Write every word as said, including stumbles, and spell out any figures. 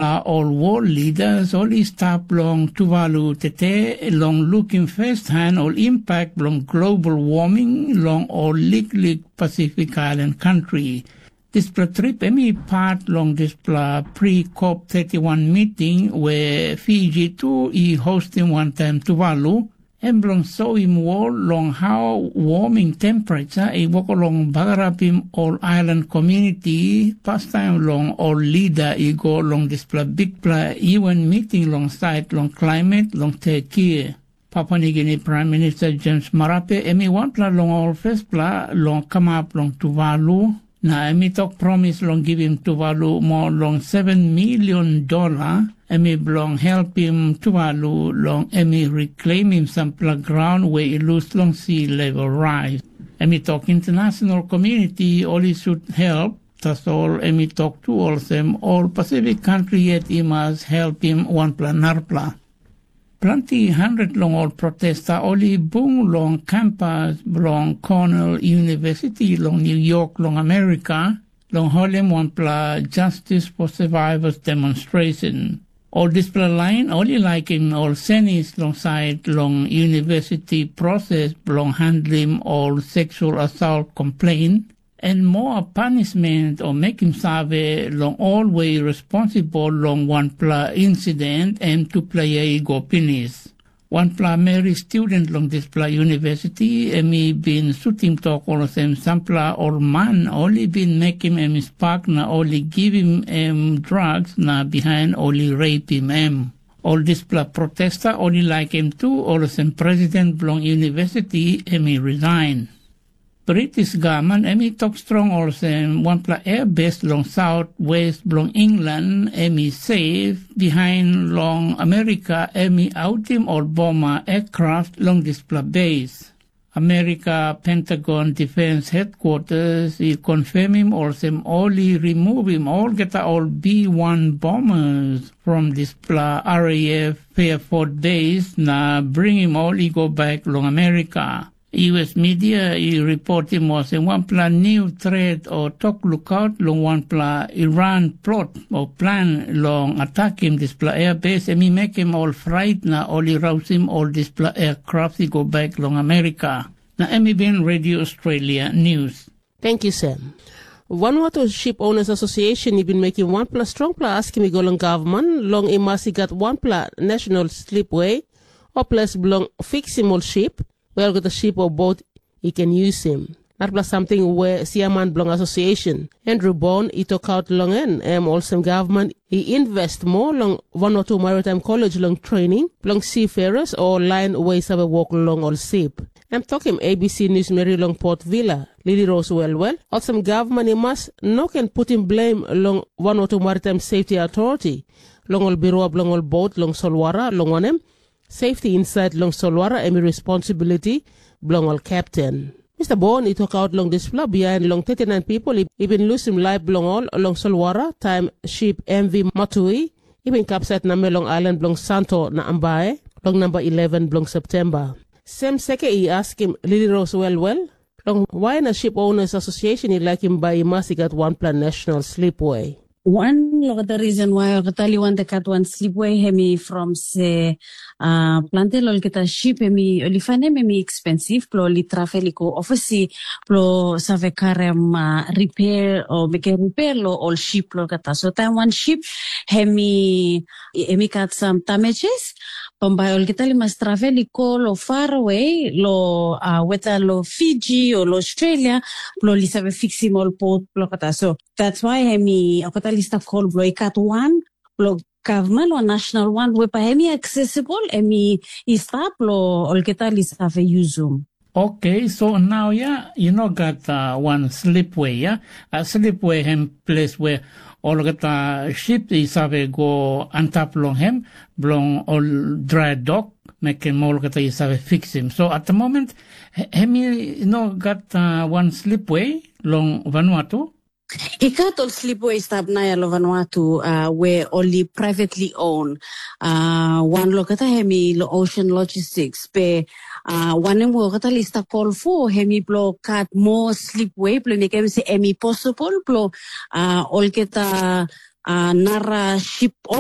A ol world leaders ol i stap long Tuvalu tete long lukim first hand ol impact bilong global warming long ol liklik Pacific Island country. Dispela trip em i pat long dispela pre-COP thirty-one meeting we Fiji tu i hostim wantaim Tuvalu, em bilong soim wol long hau warming temperature i wok long bagarapim ol island community pastaim long ol leader i go long dispela bikpela U N meeting long sait long climate long Turkey. Papua Nigini Prime Minister James Marape em i wanpela long ol firstpela long kamap long Tuvalu, na em i tok promis long givim Tuvalu moa long seven milion dola, em i bilong helpim Tuvalu long em i reclaimim sampela graun we i lus long si level rais. Em i tok international community ol i sut help, tasol em i tok tu olsem ol Pacific country yet i mas helpim wanpela narapela. Planti handet long ol protesta ol i bung long kampas bilong Cornell University long New York long Amerika, long holim wanpela Justice for Survivors demonstration. Ol dispela lain ol i laikim ol senis long sait long university proses bilong handlim ol seksual assault komplein, en moa panisment o mekim save long ol we i responsibel long wanpela insident em tupela yia i go pinis. Wanpela meri student long dispela university em i bin sutim tok olsem sampela ol man ol i bin mekim em i spak na ol i givim em drugs na bihain ol i reipim em. Ol dispela protesta ol i laikim tu olsem president bilong university em i resign. British gavman em i tok strong olsem wanpela airbase long saut west bilong England em i seif, bihain long Amerika em i autim ol boma aircraft long dispela base. Amerika Pentagon Defense Headquarters i confirmim olsem ol i removim olgeta ol B one bombers from dispela R A F Fairford base na bringim ol i go bek long Amerika. U S media i reportim olsem wanpela niu tret o tok lukaut long wanpela Iran plot o plan long atakim dispela airbase em i mekim ol frait na ol i rausim ol dispela aircraft i go bek long Amerika. Na em i bin Radio Australia News. Thank you, Sam. Vanuatu Ship Owners Association i bin mekim wanpela strongpela askim i go long gavman long i mas i gat wanpela national slipway o ples bilong fiksim ol ship, we olgeta ship o bot i ken yusim. Narapela samting we siaman bilong association, Andrew Bon, i tokaut long en, em olsem gavman i invest moa long Vanuatu Maritime College long training bilong seafarers o lain we i save wok long ol sip. Em tokim A B C News meri long Port Vila, Lili Rose Welwel, olsem gavman i mas no ken putim blem long Vanuatu Maritime Safety Authority long ol birua bilong ol bot long solwara, long wanem, safety insait long solwara em i responsibility bilong ol kepten. Mister Bon i tokaut long dispela bihain long thirty-nine pipel i bin lusim laip bilong ol long solwara taim sip M V Matui i bin kapsait namel long ailan bilong Santo na Ambae long namba eleven bilong Septemba. Sem Seke i askim Lili Rose Welwel, long wai na Ship Owners Association i laikim bai i mas i gat wanpela national slipway. Wan olgeta reason why olgeta li wante kat wan slipway hem i from se uh, planti olgeta ship hem i oli fanem hem i expensive plo oli travel i go oversea plo save karem uh, repair o meke repair lo ol ship lo olgeta. So time one ship hem i hem i kat some damages, pambai olgeta li mas travel i go lo far away lo uh, whether lo Fiji o lo Australia plo oli save fixim ol boat plo olgeta. So that's why em i okata lista kol blo i kat wan blo gavman o national wan we pa em i accessible em i i stap lo olgeta li save usum. Okay, so now ya you know got uh, one slipway ya, a slipway hem place where olgeta ship i save go antap long hem blong ol dry dock, mekim olgeta i save fixim. So at the moment hem i no gat uh, one slipway long Vanuatu. I gat ol slipway i stap naia long Vanuatu uh, we ol i privately own. Uh, wan loketa hem i lo Ocean Logistics pe uh, wanem we olgeta lista call for hem i blo gat more slipway blo mekim se em i possible blo uh, olgeta uh, nara sip